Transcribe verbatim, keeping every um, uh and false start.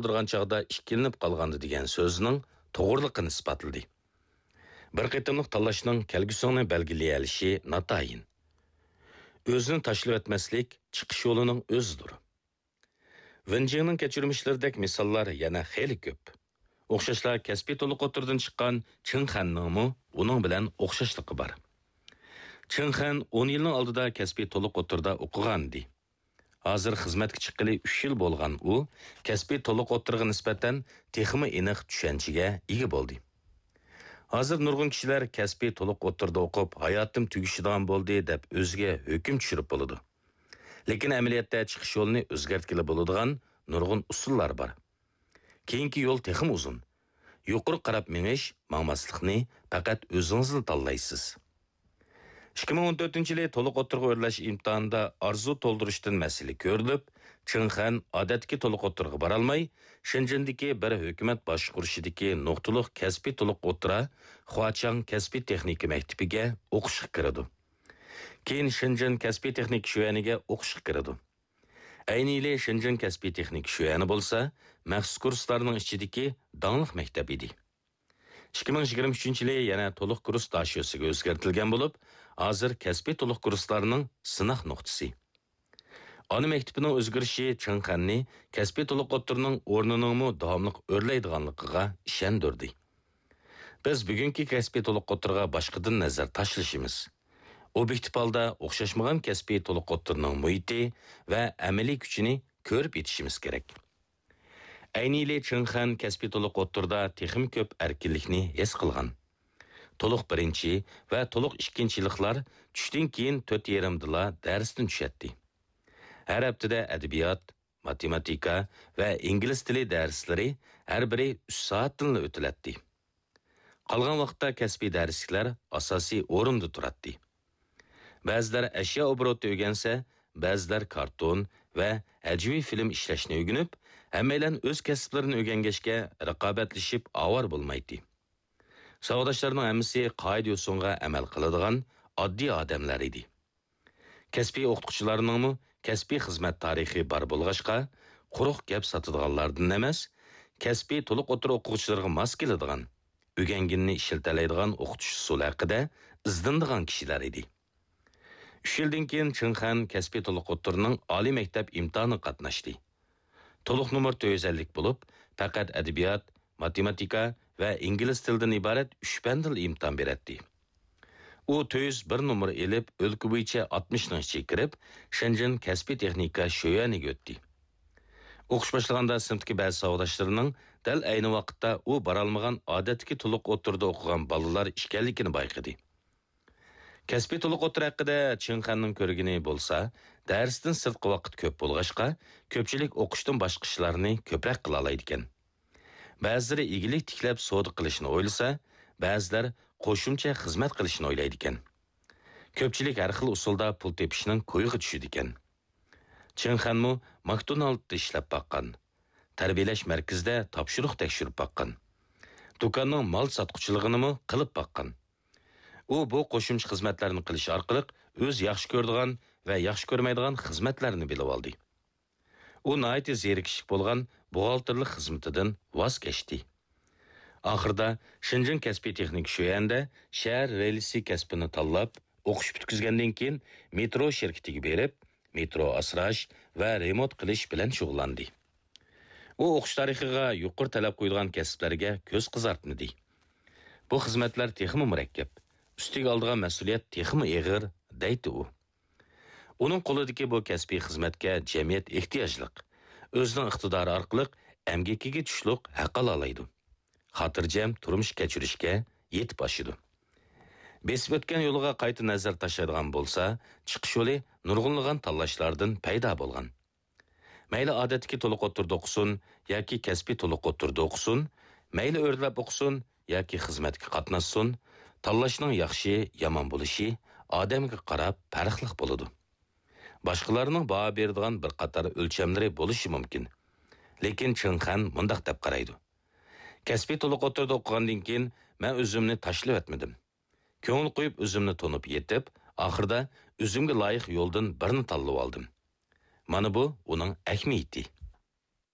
تولدۇرغان چاغدا ئىككىلىنىپ قالغاندا دېگەن سۆزنىڭ توغرىلىقىنى ئىسپاتلىدى. بىر قېتىملىق تاللاشنىڭ كەلگۈسىڭنى بەلگىلىيەلىشى ناتايىن. ئۆزىنى تاشلىۋەتمەسلىك چىقىش يولىنىڭ ئۆزىدۇر. ۋېنجىڭنىڭ كەچۈرمىشلىرىدەك مىساللار يەنە خېلى كۆپ. ئوخشاشلا كەسپىي تولۇق ئوتتۇرىدىن چىققان چېڭ خەننىڭمۇ ئۇنىڭ بىلەن ئوخشاشلىقى بار. چېڭ خەن ئون يىلنىڭ ئالدىدا كەسپىي تولۇق ئوتتۇرىدا ئوقۇغانىدى. ھازىر خىزمەتكە چىققىلى ئۈچ يىل بولغان ئۇ كەسپىي تولۇق ئوتتۇرىغا نىسبەتەن تېخىمۇ ئېنىق چۈشەنچىگە ئىگە بولدى. ھازىر نۇرغۇن كىشىلەر كەسپىي تولۇق ئوتتۇرىدا ئوقۇپ، ھاياتىم تۈگىشىدىغان بولدى دەپ ئۆزىگە ھۆكۈم چۈشۈرۈپ بولىدۇ. لېكىن ئەمەلىيەتتە چىقىش يولىنى ئۆزگەرتكىلى بولىدىغان نۇرغۇن ئۇسۇللار بار. كېيىنكى يول تېخىمۇ ئۇزۇن. يۇقىرى قاراپ مېڭىش، ماڭماسلىقنى پەقەت ئۆزىڭىزلا تاللايسىز. ئىككى مىڭ ئون تۆتىنچى يىلى تولۇق ئوتتۇرىغا ئۆرلەش ئىمتىھانىدا ئارزۇ تولدۇرۇشتىن مەسىلە كۆرۈلۈپ، چېڭ خەن ئادەتتىكى تولۇق ئوتتۇرىغا بارالماي، شېنجېندىكى بىر ھۆكۈمەت باشقۇرۇشىدىكى نۇقتىلىق كەسپىي تولۇق ئوتتۇرا خۇاچاڭ كەسپىي تېخنىكا مەكتىپىگە ئوقۇشقا كىرىدۇ. كېيىن شېنجېن كەسپىي تېخنىكا شۆيەنىگە ئوقۇشقا كىرىدۇ. ئەينى يىلى شېنجېن كەسپىي تېخنىكا شۆيەنى بولسا مەخسۇس كۇرسلارنىڭ ئىچىدىكى داڭلىق مەكتەپ ئىدى. ئىككى مىڭ يىگىرمە ئۈچىنچى يىلى يەنە تولۇق كۇرس داشۆسىگە ئۆزگەرتىلگەن بولۇپ، ھازىر كەسپىي تولۇق كۇرسلارنىڭ سىناق نۇقتىسى. ئانا مەكتىپىنىڭ ئۆزگىرىشى چېڭ خەننى كەسپىي تولۇق ئوتتۇرىنىڭ ئورنىنىڭمۇ داۋاملىق ئۆرلەيدىغانلىقىغا ئىشەندۈردى. بىز بۈگۈنكى كەسپىي تولۇق ئوتتۇرىغا باشقىدىن نەزەر تاشلىشىمىز. ئوبيېكتىپ ھالدا ئوخشاشمىغان كەسپىي تولۇق ئوتتۇرىنىڭ مۇھىتى ۋە ئەمەلىي كۈچىنى كۆرۈپ يېتىشىمىز كېرەك. ئەينى يىلى چېڭ خەن كەسپىي تولۇق ئوتتۇرىدا تېخىمۇ كۆپ ئەركىنلىكنى ھېس قىلغان. تولۇق بىرىنچى ۋە تولۇق ئىككىنچى يىللىقلار چۈشتىن كېيىن تۆت يېرىمدىلا دەرستىن چۈشەتتى. ھەر ھەپتىدە ئەدەبىيات، ماتېماتىكا ۋە ئىنگلىز تىلى دەرسلىرى ھەر بىرى ئۈچ سائەتتىنلا ئۆتۈلەتتى. قالغان ۋاقىتتا كەسپىي دەرسلىكلەر ئاساسىي ئورۇندا تۇراتتى. بەزىلەر ئەشيا ئوبوروتى ئۆگەنسە، بەزىلەر كارتون ۋە ھەجۋىي فىلىم ئىشلەشنى ئۆگىنىپ، ھەممەيلەن ئۆز كەسىپلىرىنى ئۆگەنگەچكە رىقابەتلىشىپ ئاۋارە بولمايتتى. ساۋاقداشلارنىڭ ھەممىسى قائىدە-يوسۇنغا ئەمەل قىلىدىغان ئاددىي ئادەملەر ئىدى. كەسپىي ئوقۇتقۇچىلارنىڭمۇ كەسپىي خىزمەت تارىخى بار بولغاچقا، قۇرۇق گەپ ساتىدىغانلاردىن ئەمەس، كەسپىي تولۇق ئوتتۇرا ئوقۇغۇچىلىرىغا ماس كېلىدىغان، ئۆگەنگىنىنى ئىشلىتەلەيدىغان ئوقۇتۇش ئۇسۇلى ھەققىدە ئىزدىنىدىغان كىشىلەر ئىدى. ئۈچ يىلدىن كېيىن چېڭ خەن كەسپىي تولۇق ئوتتۇرىنىڭ ئالىي مەكتەپ ئىمتىھانىغا قاتناشتى. تولۇق نومۇر تۆت يۈز ئەللىك بولۇپ، پەقەت ئەدەبىيات، ماتېماتىكا ۋە ئىنگلىز تىلىدىن ئىبارەت ئۈچ پەندىلا ئىمتىھان بېرەتتى. ئۇ تۆت يۈز بىر نومۇر ئېلىپ، ئۆلكە بويىچە ئاتمىشنىڭ ئىچىگە كىرىپ، شېنجېن كەسپىي تېخنىكا شۆيۈەنىگە ئۆتتى. ئوقۇش باشلىغاندا سىنىپتىكى بەزى ساۋاقداشلىرىنىڭ دەل ئەينى ۋاقىتتا ئۇ بارالمىغان ئادەتتىكى تولۇق ئوتتۇرىدا ئوقۇغان بالىلار ئىكەنلىكىنى بايقىدى. كەسپىي تولۇق ئوتتۇرا ھەققىدە چېڭ خەننىڭ كۆرگىنى بولسا، دەرستىن سىرتقى ۋاقىت كۆپ بولغاچقا، كۆپچىلىك ئوقۇشتىن باشقا ئىشلارنى كۆپرەك قىلالايدىكەن. بەزىلىرى ئىگىلىك تىكلەپ سودا قىلىشنى ئويلىسا، بەزىلەر قوشۇمچە خىزمەت قىلىشنى ئويلايدىكەن. كۆپچىلىك ھەر خىل ئۇسۇلدا پۇل تېپىشنىڭ كويىغا چۈشىدىكەن. چېڭ خەنمۇ ماكدونالدتا ئىشلەپ باققان، تەربىيەلەش مەركىزىدە تاپشۇرۇق تەكشۈرۈپ باققان، دۇكاننىڭ مال ساتقۇچىلىقىنىمۇ قىلىپ باققان. ئۇ بۇ قوشۇمچە خىزمەتلەرنى قىلىش ئارقىلىق ئۆزى ياخشى كۆرىدىغان ۋە ياخشى كۆرمەيدىغان خىزمەتلەرنى بىلىۋالدى. ئۇ ناھايىتى زېرىكىشلىك بولغان بوغالتىرلىق خىزمىتىدىن ۋاز كەچتى. ئاخىرىدا شېنجېن كەسپىي تېخنىكا شۆيەندە شەھەر رېلىسى كەسپىنى تاللاپ، ئوقۇش پۈتكۈزگەندىن كېيىن مېترو شىركىتىگە بېرىپ، مېترو ئاسراش ۋە رېمونت قىلىش بىلەن شۇغۇللاندى. ئۇ ئوقۇش تارىخىغا يۇقىرى تەلەپ قويىدىغان كەسىپلەرگە كۆز قىزارتمىدى. بۇ خىزمەتلەر تېخىمۇ مۇرەككەپ، ئۈستىگە ئالىدىغان مەسئۇلىيەت تېخىمۇ ئېغىر، دەيتتى ئۇ. ئۇنىڭ قولىدىكى بۇ كەسپىي خىزمەتكە جەمئىيەت ئېھتىياجلىق، ئۆزىنىڭ ئىقتىدارى ئارقىلىق ئەمگىكىگە چۈشلۈق ھەق ئالالايدۇ. خاتىرجەم تۇرمۇش كەچۈرۈشكە يېتىپ ئاشىدۇ. بېسىپ ئۆتكەن يولىغا قايتا نەزەر تاشلايدىغان بولسا، چىقىش يولى نۇرغۇنلىغان تاللاشلاردىن پەيدا بولغان. مەيلى ئادەتتىكى تولۇق ئوتتۇرىدا ئوقۇسۇن ياكى كەسپىي تولۇق ئوتتۇرىدا ئوقۇسۇن، مەيلى ئۆرلەپ ئوقۇسۇن ياكى خىزمەتكە قاتناشسۇن، تاللاشنىڭ ياخشى، يامان بولۇشى ئادەمگە قاراپ پەرقلىق بولىدۇ. باشقىلارنىڭ باھا بېرىدىغان بىر قاتار ئۆلچەملىرى بولۇشى مۇمكىن. لېكىن چېڭ خەن مۇنداق دەپ قارايدۇ: كەسپىي تولۇق ئوتتۇرىدا ئوقۇغاندىن كېيىن مەن ئۆزۈمنى تاشلىۋەتمىدىم. كۆڭۈل قويۇپ ئۆزۈمنى تونۇپ يېتىپ، ئاخىرىدا ئۆزۈمگە لايىق يولدىن بىرنى تاللىۋالدىم. مانا بۇ ئۇنىڭ ئەھمىيىتى.